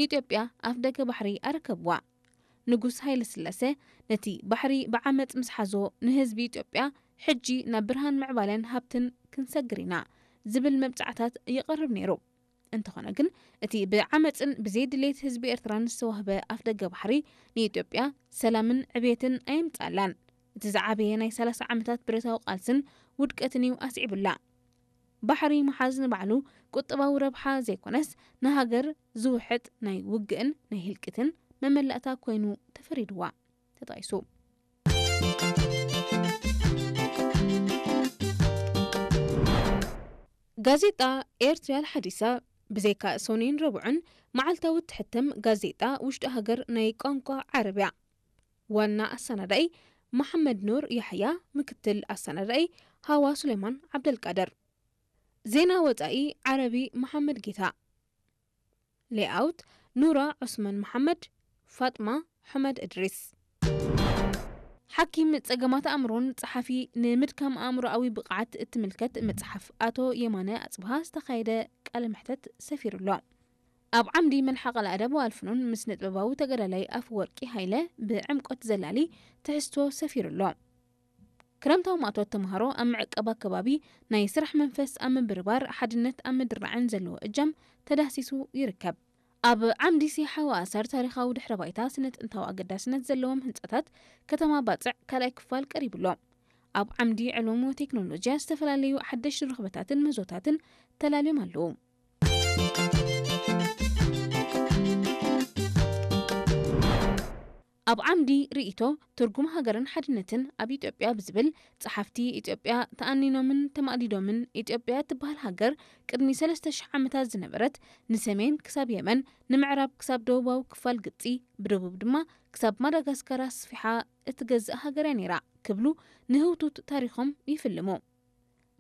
ኢትዮጵያ ኣፍደገ ባሕሪ ኣረከብዋ። ንጉስ ሃይለ ስላሴ ነቲ ባሕሪ ብዓመጽ ምስ ሓዞ፣ ንህዝቢ ኢትዮጵያ ሕጂ ናብ ብርሃን ምዕባለን ሃብትን ክንሰግር ኢና ዝብል መብጻዕታት ይቐርብ ነይሩ። እንተኾነ ግን፣ እቲ ብዓመጽን ብዘይ ድሌት ህዝቢ ኤርትራን ዝተዋህበ ኣፍደገ ባሕሪ ንኢትዮጵያ ሰላምን ዕብየትን ኣየምጽኣላን። እቲ ዝዓበየ ናይ ሰላሳ ዓመታት ብረታዊ ቃልስን ውድቀትን እዩ ኣስዒቡላ። ባሕሪ ምሓዝ ንባዕሉ ቁጠባዊ ረብሓ ዘይኮነስ፣ ንሃገር ዝውሕጥ ናይ ውግእን ናይ ህልቂትን መመላእታ ኮይኑ ተፈሪድዋ። ተጣይሱ። ጋዜጣ ኤርትሪያል ሓዲሳ፣ ብዘይካ ሰኑይን ረቡዕን መዓልታዊ እትሕተም ጋዜጣ ውሽጢ ሃገር ናይ ቋንቋ ዓረብያ። ዋና ኣሰናዳኢ መሓመድ ኑር ያሕያ፣ ምክትል ኣሰናዳኢ ሃዋ ሱሌማን ዓብደልቃድር። ዜና ወጻኢ ዓረቢ መሓመድ ጌታ። ሌኣውት ኑራ ዑስማን መሓመድ፣ ፋጥማ ሑመድ እድሪስ። ሓኪም ጸገማት ኣእምሮን ጸሓፊ ንምድካም ኣእምሮኣዊ ብቕዓት እትምልከት መጽሓፍ ኣቶ የማነ ኣጽብሃ ዝተኻየደ ቃለ መሕተት ሰፊሩ ኣሎ። ኣብ ዓምዲ መልሓቕ ኣልኣደብ ወኣልፍኑን ምስ ንጥበባዊ ተጋዳላይ ኣፈወርቂ ሃይለ ብዕምቆት ዘላሊ ትሕዝቶ ሰፊሩ ኣሎ። ክረምታዊ ማእቶት ተምሃሮ ኣብ ምዕቃብ ኣከባቢ ናይ ስራሕ መንፈስ ኣብ ምብርባር ሓድነት ኣብ ምድርናዕን ዘለዎ እጃም ተዳህሲሱ ይርከብ። ኣብ ዓምዲ ሲሓዊ ኣሰር ታሪኻዊ ድሕረ ባይታ ስነ ጥንታዊ ኣገዳስነት ዘለዎም ህንጻታት ከተማ ባጽዕ ካልኣይ ክፋል ቀሪቡ ኣሎ። ኣብ ዓምዲ ዕሉም ወቴክኖሎጂያ ዝተፈላለዩ ሓደሽቲ ርኽበታትን ምህዞታትን ተላልዮም ኣለዉ። ኣብ ዓምዲ ርእይቶ ትርጉም ሃገርን ሓድነትን ኣብ ኢትዮጵያ ብዝብል ጸሓፍቲ ኢትዮጵያ ተኣኒኖምን ተማእዲዶምን ኢትዮጵያ እትበሃል ሃገር ቅድሚ ሰለስተ ሽሕ ዓመታት ዝነበረት ንሰሜን ክሳብ የመን ንምዕራብ ክሳብ ደቡባዊ ክፋል ግብጺ ብደቡብ ድማ ክሳብ ማዳጋስካር ኣስፊሓ እትገዝእ ሃገር እያ ነይራ ክብሉ ንህውቱት ታሪኾም ይፍልሙ።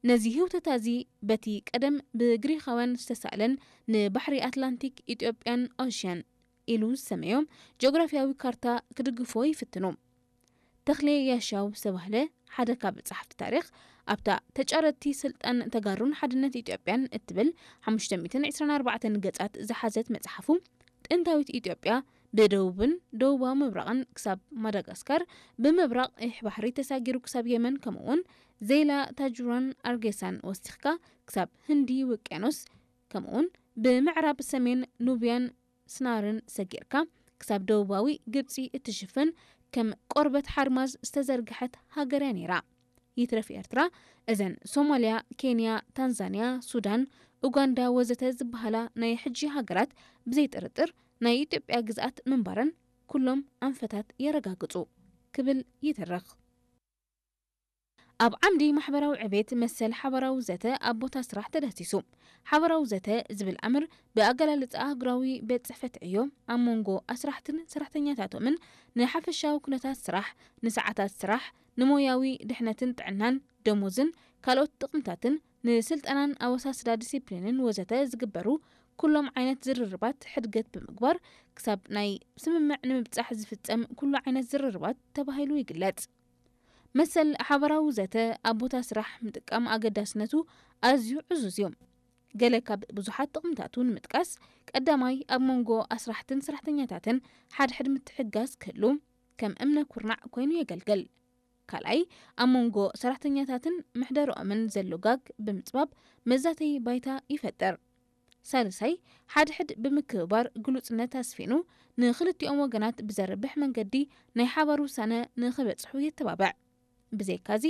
ነዚ ህውተታ እዚ በቲ ቀደም ብግሪኻውያን ዝተሳእለን ንባሕሪ ኣትላንቲክ ኢትዮጵያን ኦሽያን ኢሉ ዝሰመዮም ጂኦግራፊያዊ ካርታ ክድግፎ ይፍትኑ። ተኽሌ ያሻው ዝተባህለ ሓደ ካብ ጸሓፍቲ ታሪኽ ኣብታ ተጫረቲ ስልጣን ተጋሩን ሓድነት ኢትዮጵያን እትብል ሓሙሽተ ሚእትን ዕስራን ኣርባዕተን ገጻት ዝሓዘት መጽሓፉ ጥንታዊት ኢትዮጵያ ብደቡብን ደቡባዊ ምብራቕን ክሳብ ማዳጋስካር፣ ብምብራቕ ይሕ ባሕሪ ተሳጊሩ ክሳብ የመን፣ ከምኡውን ዜላ ታጁራን ኣርጌሳን ወሲኽካ ክሳብ ህንዲ ውቅያኖስ፣ ከምኡውን ብምዕራብ ሰሜን ኑብያን ስናርን ሰጊርካ ክሳብ ደቡባዊ ግብጺ እትሽፍን ከም ቆርበት ሓርማዝ ዝተዘርግሐት ሃገር እያ ነይራ። ይትረፍ ኤርትራ፣ እዘን ሶማልያ፣ ኬንያ፣ ታንዛንያ፣ ሱዳን፣ ኡጋንዳ ወዘተ ዝበሃላ ናይ ሕጂ ሃገራት ብዘይ ጥርጥር ናይ ኢትዮጵያ ግዝኣት ምንባረን ኩሎም ኣንፈታት የረጋግጹ ክብል ይትርኽ። ኣብ ዓምዲ ማሕበራዊ ዕቤት መሰል ሓባራዊ ዘተ ኣብ ቦታ ስራሕ ተዳህሲሱ። ሓባራዊ ዘተ ዝብል ኣምር ብኣገላልጻ ኣህጉራዊ ቤት ጽሕፈት ዕዮ ኣብ መንጎ ኣስራሕትን ሰራሕተኛታቶምን ንሓፈሻዊ ኩነታት ስራሕ፣ ንሰዓታት ስራሕ፣ ንሞያዊ ድሕነትን ጥዕናን፣ ደሞዝን ካልኦት ጥቕምታትን፣ ንስልጠናን ኣወሳስዳ ዲሲፕሊንን ወዘተ ዝግበሩ ኩሎም ዓይነት ዝርርባት ሕድገት ብምግባር ክሳብ ናይ ስምምዕ ንምብጻሕ ዝፍጸም ኩሉ ዓይነት ዝርርባት ተባሂሉ ይግለጽ። መሰል ሓባራዊ ዘተ ኣብ ቦታ ስራሕ ምጥቃም ኣገዳስነቱ ኣዝዩ ዕዙዝ እዩ። ገለ ካብ ብዙሓት ጥቕምታቱ ንምጥቃስ፣ ቀዳማይ ኣብ መንጎ ኣስራሕትን ሰራሕተኛታትን ሓድሕድ ምትሕግጋዝ ክህሉ ከም እምነ ኩርናዕ ኮይኑ የገልግል። ካልኣይ ኣብ መንጎ ሰራሕተኛታትን ምሕደርኦምን ዘሎ ጋግ ብምጽባብ መዛተዪ ባይታ ይፈጥር። ሳልሳይ ሓድሕድ ብምክብባር ግሉጽነት ኣስፊኑ ንኽልቲኦም ወገናት ብዘርብሕ መንገዲ ናይ ሓባር ውሳነ ንኽበጽሑ የተባብዕ። ብዘይካዚ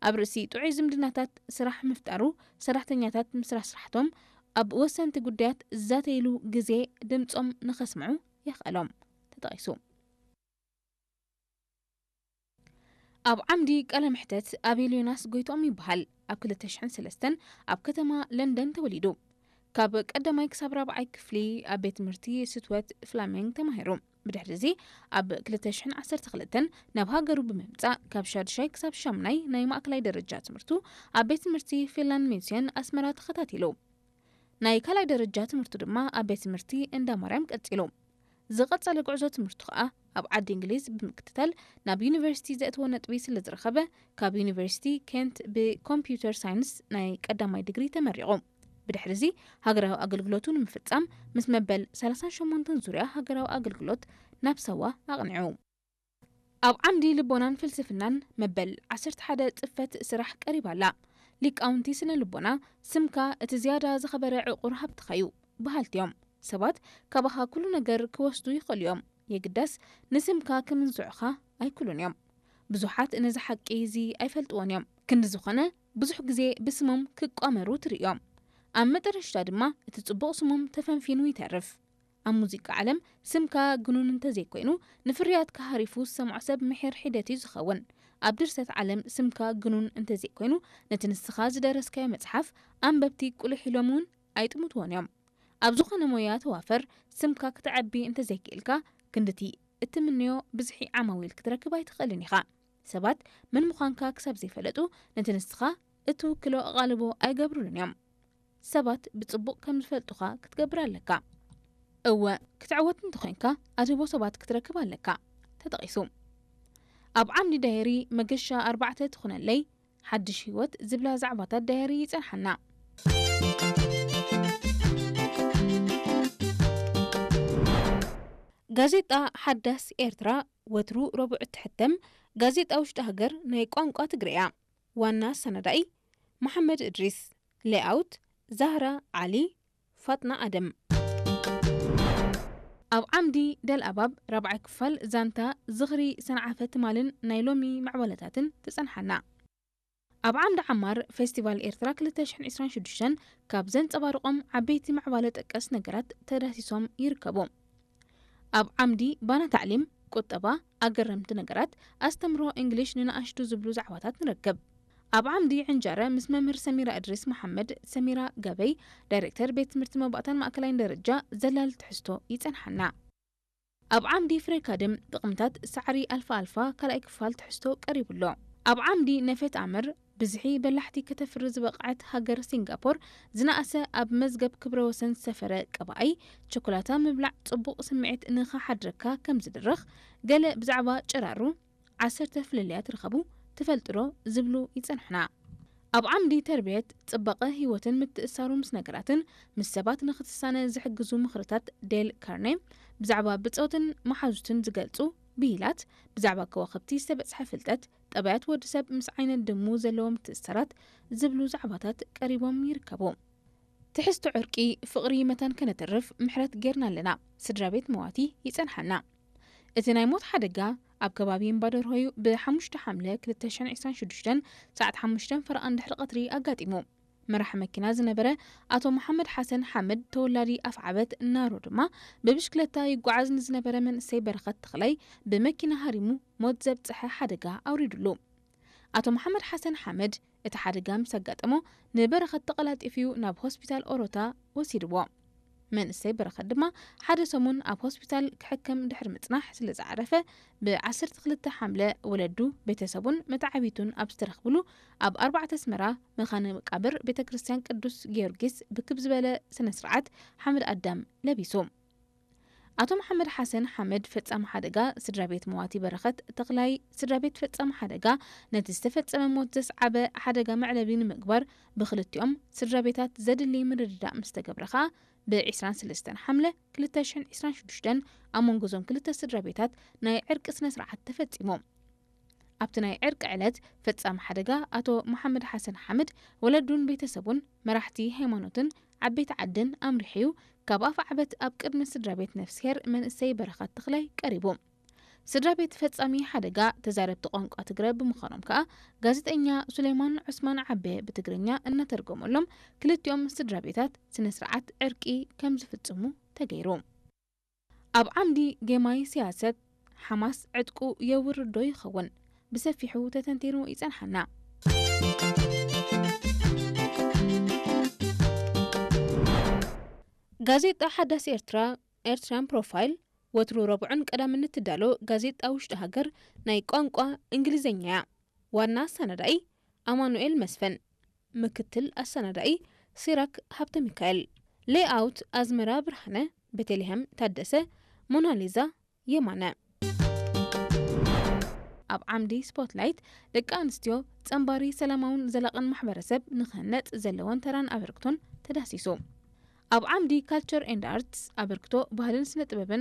ኣብ ርእሲ ጥዑይ ዝምድናታት ስራሕ ምፍጣሩ ሰራሕተኛታት ምስ ስራሕቶም ኣብ ወሰንቲ ጉዳያት ዝዛተይሉ ግዜ ድምጾም ንኸስምዑ የኽእሎም። ተጠቒሱ። ኣብ ዓምዲ ቃለ መሕተት ኣቤል ዮናስ ጎይትኦም ይበሃል። ኣብ ክልተ ሽሕን ሰለስተን ኣብ ከተማ ለንደን ተወሊዱ። ካብ ቀዳማይ ክሳብ ራብዓይ ክፍሊ ኣብ ቤት ትምህርቲ ስትወት ፍላሚንግ ተማሂሩ። ብድሕሪ እዚ ኣብ ክልተ ሽሕን ዓሰርተ ክልተን ናብ ሃገሩ ብምምጻእ ካብ ሻድሻይ ክሳብ ሻምናይ ናይ ማእከላይ ደረጃ ትምህርቱ ኣብ ቤት ትምህርቲ ፊንላንድ ሚስዮን ኣስመራ ተኸታቲሉ። ናይ ካልኣይ ደረጃ ትምህርቱ ድማ ኣብ ቤት ትምህርቲ እንዳ ማርያም ቀጺሉ። ዝቐጸለ ጉዕዞ ትምህርቱ ከኣ ኣብ ዓዲ እንግሊዝ ብምክትታል ናብ ዩኒቨርሲቲ ዘእትዎ ነጥቢ ስለ ዝረኸበ ካብ ዩኒቨርሲቲ ኬንት ብኮምፒውተር ሳይንስ ናይ ቀዳማይ ዲግሪ ተመሪቑ። ብድሕሪ እዚ ሃገራዊ ኣገልግሎቱ ንምፍጻም ምስ መበል ሰላሳን ሸሞንተን ዙርያ ሃገራዊ ኣገልግሎት ናብ ሳዋ ኣቕኒዑ። ኣብ ዓምዲ ልቦናን ፍልስፍናን መበል ዓሰርተ ሓደ ጽፈት ስራሕ ቀሪባ ኣላ። ሊቃውንቲ ስነ ልቦና፣ ስምካ እቲ ዝያዳ ዝኸበረ ዕቑር ሃብትኻ እዩ በሃልቲ እዮም። ሰባት ካባኻ ኩሉ ነገር ክወስዱ ይኽእሉ እዮም፣ የግዳስ ንስምካ ክምንዝዑኻ ኣይክእሉን እዮም። ብዙሓት ነዚ ሓቂ እዚ ኣይፈልጥዎን እዮም። ክንዲ ዝኾነ፣ ብዙሕ ግዜ ብስሞም ክቋመሩ ትርእዮም። ኣብ መጠረሽታ ድማ እቲ ጽቡቕ ስሞም ተፈንፊኑ ይተርፍ። ኣብ ሙዚቃ ዓለም ስምካ ግኑን እንተዘይኮይኑ፣ ንፍርያትካ ሃሪፉ ዝሰምዖ ሰብ ምሒር ሒደት እዩ ዝኸውን። ኣብ ድርሰት ዓለም ስምካ ግኑን እንተዘይኮይኑ፣ ነቲ ንስኻ ዝደረስካዮ መጽሓፍ ኣንበብቲ ቁልሕ ኢሎም እውን ኣይጥምትዎን እዮም። ኣብ ዝኾነ ሞያ ተዋፈር፣ ስምካ ክተዕቢ እንተዘይክኢልካ፣ ክንድቲ እትምንዮ ብዝሒ ዓማዊል ክትረክብ ኣይትኽእልን ኢኻ። ሰባት መን ምዃንካ ክሳብ ዘይፈለጡ፣ ነቲ ንስኻ እትውክሎ ኣቓልቦ ኣይገብሩሉን እዮም። ሰባት ብጽቡቕ ከም ዝፈልጡኻ ክትገብር ኣለካ። እወ፣ ክትዕወት እንተኾይንካ፣ ኣድህቦ ሰባት ክትረክብ ኣለካ። ተጠቒሱ። ኣብ ዓምዲ ዳየሪ መገሻ ኣርባዕተ ትኹነለይ፣ ሓድሽ ህይወት ዝብላ ዛዕባታት ዳየሪ ይጸንሓና። ጋዜጣ ሓዳስ ኤርትራ ወትሩ ረቡዕ እትሕተም ጋዜጣ ውሽጢ ሃገር ናይ ቋንቋ ትግርያ። ዋና ኣሰናዳኢ መሓመድ እድሪስ። ሌኣውት ዛህራ ዓሊ፣ ፋጥና ኣደም። ኣብ ዓምዲ ደልኣባብ ራብዓይ ክፋል ዛንታ ዝኽሪ ሰንዓፈ ትማልን ናይ ሎሚ ምዕባለታትን ትጸንሓና። ኣብ ዓምዲ ዓማር ፌስቲቫል ኤርትራ ክልተ ሽሕን ዕስራን ሽዱሽተን ካብ ዘንጸባርቖም ዓበይቲ ምዕባለ ጠቀስ ነገራት ተዳሲሶም ይርከቡ። ኣብ ዓምዲ ባና ታዕሊም፣ ቁጠባ፣ ኣገረምቲ ነገራት፣ ኣስተምሮ እንግሊሽ ንንኣሽቱ ዝብሉ ዛዕባታት ንረክብ። ኣብ ዓምዲ ዕንጃረ ምስ መምህር ሰሚራ እድሪስ መሓመድ፣ ሰሚራ ገበይ፣ ዳይሬክተር ቤት ትምህርቲ መባእታን ማእከላይን ደረጃ ዘላል ትሕዝቶ ይጸንሓና። ኣብ ዓምዲ ፍሬ ካድም ጥቕምታት ሳዕሪ ኣልፋ ኣልፋ ካልኣይ ክፋል ትሕዝቶ ቀሪቡ ኣሎ። ኣብ ዓምዲ ነፈት ኣምር ብዝሒ በላሕቲ ከተፍሪ ዝበቕዐት ሃገር ሲንጋፖር ዝነኣሰ ኣብ መዝገብ ክብረ ወሰን ዝሰፈረ ቀባኣይ ቸኮላታ ምብላዕ ጽቡቕ ስምዒት ንኽሓድረካ ከም ዝድርኽ ገለ ብዛዕባ ጨራሩ ዓሰርተ ፍልልያት ርኸቡ ትፈልጥዶ ዝብሉ ይጸንሑና። ኣብ ዓምዲ ተርብየት ጽባቐ ህይወትን ምትእሳሩ ምስ ነገራትን ምስ ሰባት ንኽትሳነ ዝሕግዙ ምኽርታት ዴል ካርኔ ብዛዕባ ብጾትን መሓዙትን ዝገልጹ ብሂላት ብዛዕባ ከዋኽብቲ ዝተበጽሐ ፍልጠት ጠባያት ወዲ ሰብ ምስ ዓይነት ድሙ ዘለዎ ምትእስሳራት ዝብሉ ዛዕባታት ቀሪቦም ይርከቡ። ትሕዝቶ ዕርቂ ፍቕሪ መታን ከነትርፍ ምሕረት ጌርና ኣለና። ስድራ ቤት መዋቲ ይጸንሓና። እቲ ናይ ሞት ሓደጋ ኣብ ከባቢ እምባደርሆዩ ብ ሓሙሽተ ሓምለ ክልተ ሽሕን ዕስራን ሽዱሽተን ሰዓት ሓሙሽተ ፈረቓ እንድሕሪ ቀትሪ ኣጋጢሙ። መራሕ መኪና ዝነበረ ኣቶ መሓመድ ሓሰን ሓምድ ተወላዲ ኣፍዓበት ናሮ ድማ ብብሽክለታ ይጓዓዝ ንዝነበረ መንእሰይ በረኸት ተኽላይ ብመኪና ሃሪሙ ሞት ዘብጽሐ ሓደጋ ኣውሪዱሉ። ኣቶ መሓመድ ሓሰን ሓምድ እቲ ሓደጋ ምስ ኣጋጠሞ ንበረኸት ተቐላጢፉ ናብ ሆስፒታል ኦሮታ ወሲድዎ። መንእሰይ በረኸት ድማ ሓደ ሰሙን ኣብ ሆስፒታል ክሕከም ድሕሪ ምጽናሕ ስለ ዝዓረፈ ብ ዓሰርተ ክልተ ሓምለ ወለዱ ቤተሰቡን መተዓቢቱን ኣብ ዝተረኽብሉ ኣብ ኣርባዕተ ኣስመራ መኻነ መቃብር ቤተ ክርስቲያን ቅዱስ ጊዮርጊስ ብክብ ዝበለ ስነ ስርዓት ሓመድ ኣዳም ለቢሱ። ኣቶ መሓመድ ሓሰን ሓመድ ፈጻሚ ሓደጋ ስድራ ቤት መዋቲ በረኸት ተኽላይ ስድራ ቤት ፈጻሚ ሓደጋ ነቲ ዝተፈጸመ ሞት ዘስዓበ ሓደጋ መዕለቢ ንምግባር ብክልቲኦም ስድራ ቤታት ዘድሊ ምርድዳእ ምስ ተገብረ ከኣ ብ ዕስራን ሰለስተን ሓምለ ክልተ ሽሕን ዕስራን ሽዱሽተን ኣብ መንጎ እዞም ክልተ ስድራ ቤታት ናይ ዕርቂ ስነ ስርዓት ተፈጺሙ። ኣብቲ ናይ ዕርቂ ዕለት ፈጻሚ ሓደጋ ኣቶ መሓመድ ሓሰን ሓምድ ወለዱን ቤተሰቡን መራሕቲ ሃይማኖትን ዓበይቲ ዓድን ኣምሪሑዩ ካብ ኣፍዓበት ኣብ ቅድሚ ስድራ ቤት ነፍስሄር መንእሰይ በረኸት ተኽላይ ቀሪቡ። ስድራ ቤት ፈጻሚ ሓደጋ ተዛረብቲ ቋንቋ ትግረ ብምዃኖም ከኣ ጋዜጠኛ ሱሌማን ዑስማን ዓቤ ብትግርኛ እናተርጎመሎም ክልቲኦም ስድራ ቤታት ስነ ስርዓት ዕርቂ ከም ዝፍጽሙ ተገይሩ። ኣብ ዓምዲ ጌማይ ስያሰት ሓማስ ዕጥቁ የውርድ ዶ ይኸውን? ብሰፊሑ ተተንቲኑ ይጸንሓና። ጋዜጣ ሓዳስ ኤርትራ ኤርትራን ፕሮፋይል ወትሩ ረቡዕን ቀዳምን እትዳሎ ጋዜጣ ውሽጢ ሃገር ናይ ቋንቋ እንግሊዝኛ እያ። ዋና ኣሰናዳኢ ኣማኑኤል መስፍን፣ ምክትል ኣሰናዳኢ ሲራክ ሃብተ ሚካኤል፣ ሌኣውት ኣዝመራ ብርሃነ፣ ቤተልሔም ታደሰ፣ ሞናሊዛ የማነ። ኣብ ዓምዲ ስፖትላይት ደቂ ኣንስትዮ ጸንባሪ ሰላማውን ዘላቕን ማሕበረሰብ ንክህነጽ ዘለወን ተራን ኣበርክቶን ተዳሲሱ። ኣብ ዓምዲ ካልቸር ኤንድ ኣርትስ ኣበርክቶ ባህልን ስነ ጥበብን